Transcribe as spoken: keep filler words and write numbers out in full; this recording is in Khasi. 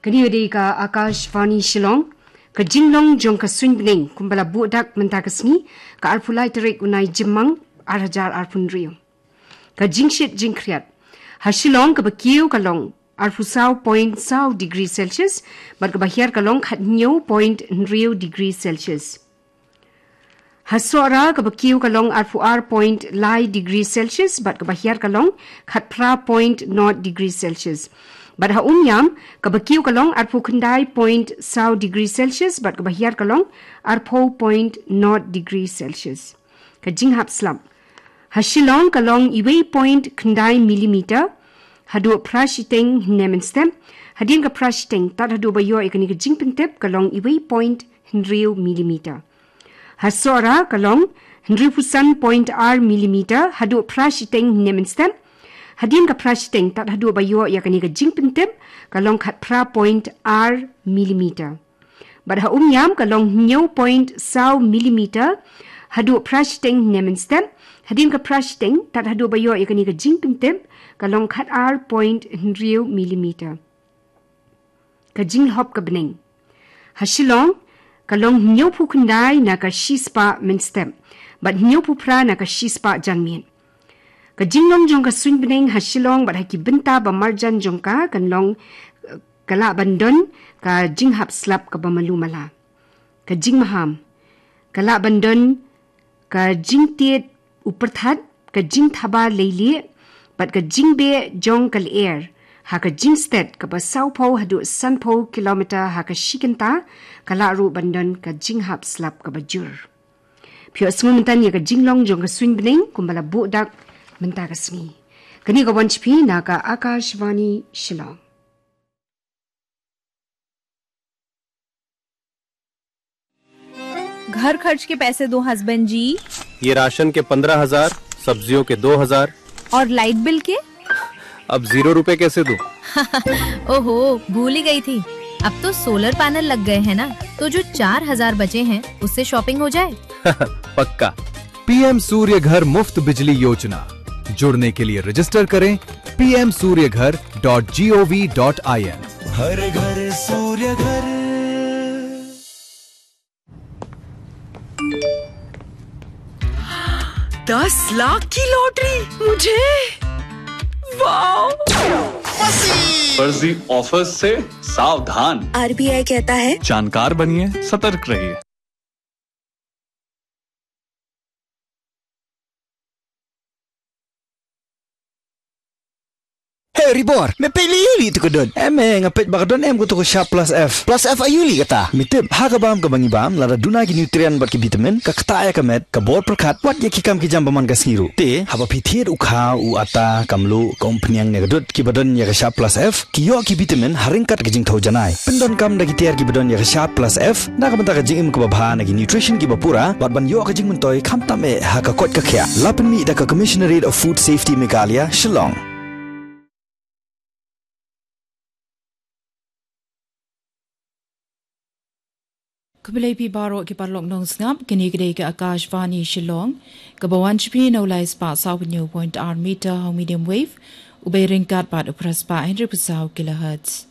Kane ka dei ka Akashvani Shillong. Ka jinglong jong ka suiñ bneng kumba la buh dak mynta ka sngi, ka arphew lai tarik u Naijimmang, ar hajar arphew hynriew. Ka jingshit jingkhriat. Ha Shillong kaba kiew ka long arphew saw point saw degree Celsius, bad kaba hiar ka long khathynñiew point hynriew degree Celsius. Ha Sohra kaba kiew ka long arphew ar point lai degree Celsius, bad kaba hiar ka long khatphra point nod degree Celsius. Bad ha Umiam kaba kiew ka long arphew khyndai point saw degree Celsius, bad kaba hiar ka long arphew point nod degree Celsius. Ka jinghap slap. Ha Shillong ka long iwei point khyndai millimeter, haduh phra shiteng hynne mynstep. Hadien ka phra shiteng tad haduh ba ïoh ïa kane ka jingpyntip ka long iwei point hynriew millimeter. Ha Sohra ka long hynriewphew san point ar millimeter, haduh phra shiteng hynne mynstep. Hadien ka phra shiteng tad haduh ba ïoh ïa kane ka jingpyntip ka long khatphra point ar millimeter. Bad ha Umiam ka long hynñiew point saw millimeter, haduh phra shiteng hynne mynstep. Hadien ka phra shiteng tad haduh ba ïoh ïa kane ka jingpyntip ka long khatar point hynriew millimeter. Ka jinglhop ka bneng. Ha Shillong ka long hynñiewphew khyndai na ka shispah mynstep, bad hynñiewphew phra na ka shispah janmiet. Ka jinglong jong ka suiñ bneng ha Shillong bad ha ki bynta ba marjan jong ka kan long, eh, ka lah ban don ka jinghap slap kaba malu mala. Ka jingmaham. Ka lah ban don ka jingtied u pyrthat, ka jingthaba leilieh, bad ka jingbeh jong ka lyer ha ka jingsted kaba sawphew haduh sanphew kilometer ha ka shi kynta, ka lah ruh ban don ka jinghap slap kaba jur. Phi ïohsngew mynta ïa ka jinglong jong ka suiñ bneng kumba la buh dak mynta ka sngi. Kane ka wan sha phi na ka Akashvani Shillong. घर खर्च के पैसे दो हस्बैंड जी। ये राशन के पन्द्रह हजार, सब्जियों के दो हजार। और लाइट बिल के? अब ज़ीरो रुपए कैसे दूं? ओहो, भूल ही गई थी। अब तो सोलर पैनल लग गए हैं ना, तो जो चार हजार बचे हैं, उससे शॉपिंग हो जाए। पक्का। पीएम सूर्य घर मुफ्त बिजली योजना। जुड़ने के लिए रजिस्टर करें P M Surya Ghar dot G O V dot I N. हर घर सूर्य घर। दस लाख की लॉटरी मुझे। वाओ। फर्जी ऑफर्स से सावधान। आरबीआई कहता है, जानकार बनिए, सतर्क रहिए। Hey, Ribor, me peit lei ïa lei tu ka don. Em, eh, nga peit ba ka don em ka tu ka Sharp Plus F. Plus F aïu lei kata? Me tip, ha ka bam kaba ngi bam, lada duna ki nutrient bad ki vitamin, ka ktah ïa ka met, ka bor pyrkhat, wat ïa ki kam ki jam ba man ka sngi ruh. Te, haba phi thied u khaw, u atta, ka mluh, ka umphniang ne ka dud, kiba don ïa ka Sharp Plus F, ki ïoh ki vitamin, ha ryngkat ka jingthew janai. Pyndonkam da ki tiar kiba don ïa ka Sharp Plus F, na ka bynta ka jingim kaba bha na ki nutrition kiba pura, bad ban ïoh ka jingmyntoi khamtam eh ha ka koit ka khiah. La pynmih da ka Commissionerate of Food Safety Meghalaya, Shillong. Khublei phi baroh ki paralok nongsngap, kane ka dei ka Akashvani Shillong, kaba wan sha phi na u lai spah saw hynñiew point ar meter ha u medium wave, u bei ryngkat bad u phra spah hynriewphew saw kilohertz.